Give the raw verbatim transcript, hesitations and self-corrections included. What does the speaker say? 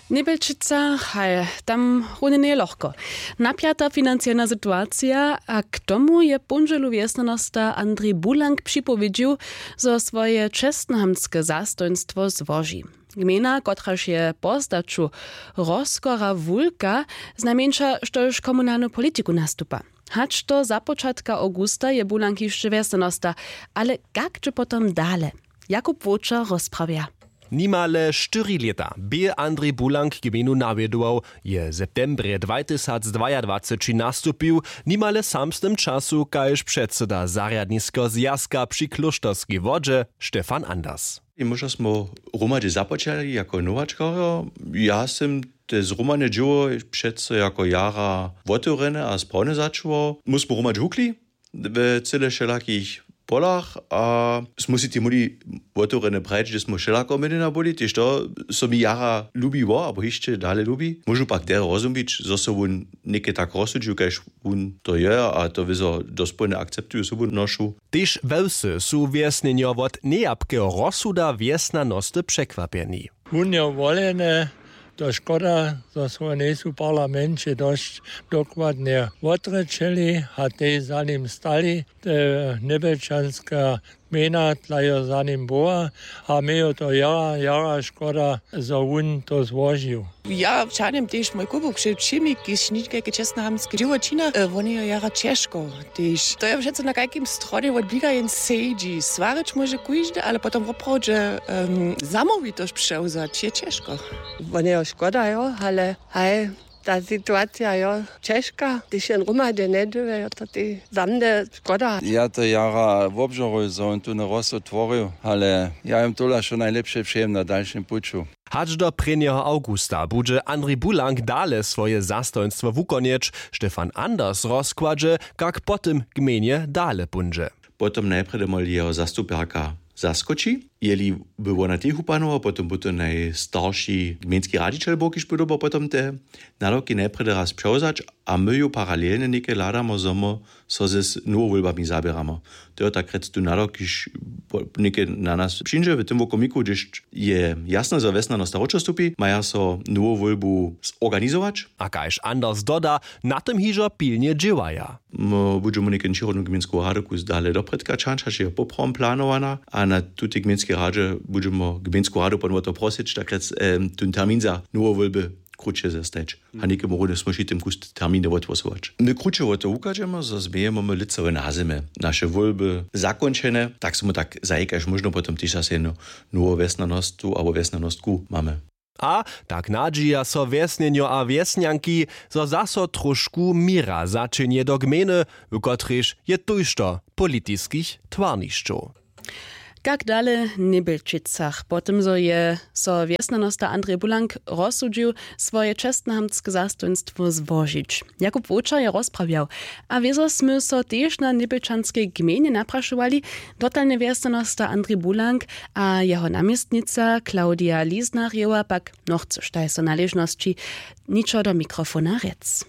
W Njebelčicach haj tam runje njeje lochko. Napjata financowana situacija a k tomu je póndźelu wjesnjanosta Andrej Bulank připowědźił, zo swoje čestnohamtske zastojnstwo złoži. Gmejna, kotraž je po zdaću rozkora wulka, znajmjeńša štož komunalnu politiku nastupa. Hač do započatka awgusta je Bulank hišće wjesnjanosta, ale kak dźe potom dale? Jakub Wočer rozprawja. Nimale štyri lěta bě Andrej Bulank gmejnu nawjedował, je w septembrje dwajtysacdwajadwaceći nastupił, nimale w samsnym času kaž předsyda zarjadniskeho zwjazka při klóšterskej wodźe Stefan Anders. Móžno smo hromadźe započali jako nowačkarjo. Ja sym te zhromadne dźěło přeco jako jara wotewrjene a sprawne začuwał. My smo hromadźe hukli we cyle wšelakich polach a smy si tej móhli wotewrjene prajić, hdźe smo wšelako měnjena byli, tež to so mi jara lubiło abo hišće dale lubi. Móžu pak derje rozumić, zo so wón něke tak rozsudźił, kaž wón to je, a to wězo dospołnje akceptuju sobu nošu. Tež we wsy su wjesnjenjo wot nejapkeho rozsuda wjesnjanosty překwapjeni. Wón je woleny, to škoda, zo so njejsu w parlamenće dosć dokładnje wotrěčeli a tej za nim stali. Te njebelčanska gmejna tla jo za nim była a mje jo to jara jara škoda, zo wón to złožił. Ja wčanem tež mój kubuk před wšěmi, kiž ničkajke čestnohamtske dźěło čina. Wone jo jara ćežko, tež to je přeco na kajkim stronje wot bliga jen sedźi, swarić móže kóždy, ale potom woprawdźe zamołwitosć přewzać je ćežko. Wone jo škoda jo, ale haj, ta situacija jo ćežka, hdyž jen hromadźe njedźěłe jo to tej za mnje škoda. Ja to jara wobžoruju, zo wón tu na rozsud tworju, ale ja jom tola wšo najlěpše přejem na dalšim puću. Hač do prěnjeho awgusta budźe Andrej Bulank dale swoje zastojnstwo wukonjeć. Stefan Anders rozkładźe, kak po tym gmejnje dale póńdźe. Potom najprjedy móhli jeho zastupjerka zaskoči, jeli by wona techu panował, potom by to najstarši gmejnski radźićel był, kiž by dyrbał potom te nadawki najprjedy raz přewzać. A my ju paralelnje něke hladamo, zo my so z nowowólbami zaběramy. To je tak rjec tu nadawk, kiž něke na nas přińdźe w tym wokomiku, hdyž je jasne, zo wjesnjanosta wróćo stupi, maja so nowowólbu zorganizować. A kaž Anders doda, na tym hižo pilnje dźěłaja. My budźemy něke přirodnu gmejnsku radu kus dale doprědka čančać, je poprawom planowana, a na tutej gmejnskej radźe budźemy gmejnsku radu potom wo to prosyć, tak rjec tón termin za nowowólby kruće zestajić. A někemu runje smóžitym kus terminy wotłosować. My kruće wo to wuchadźemy, zo změjemy my lětsowe nazemy, naše wólby zakónčene, tak smy tak zajikaž móžno potom tež zase jednu nowu wjesnjanostu abo wjesnjanostku mamy. A tak nadźija so wjesnjenjo a wjesnjanki, zo zaso tróšku měra zaćehnje do gmejny, w kotrejž je tójšto politiskich twarnišćow. Kak dale w Njebelčicach po tym zo je so wjesnjanosta Andrej Bulank rozsudźił, swoje čestnohamtske zastojnstwo złožić, Jakub Wočer je rozprawjał. A wězo smy so tež na njebelčanskej gmejnje naprašowali. Dotalnje wjesnjanosta Andrej Bulank a jeho naměstnica Claudia Lisnarjewa pak nochcyš tajso naležnosći ničo do mikrofona rjec.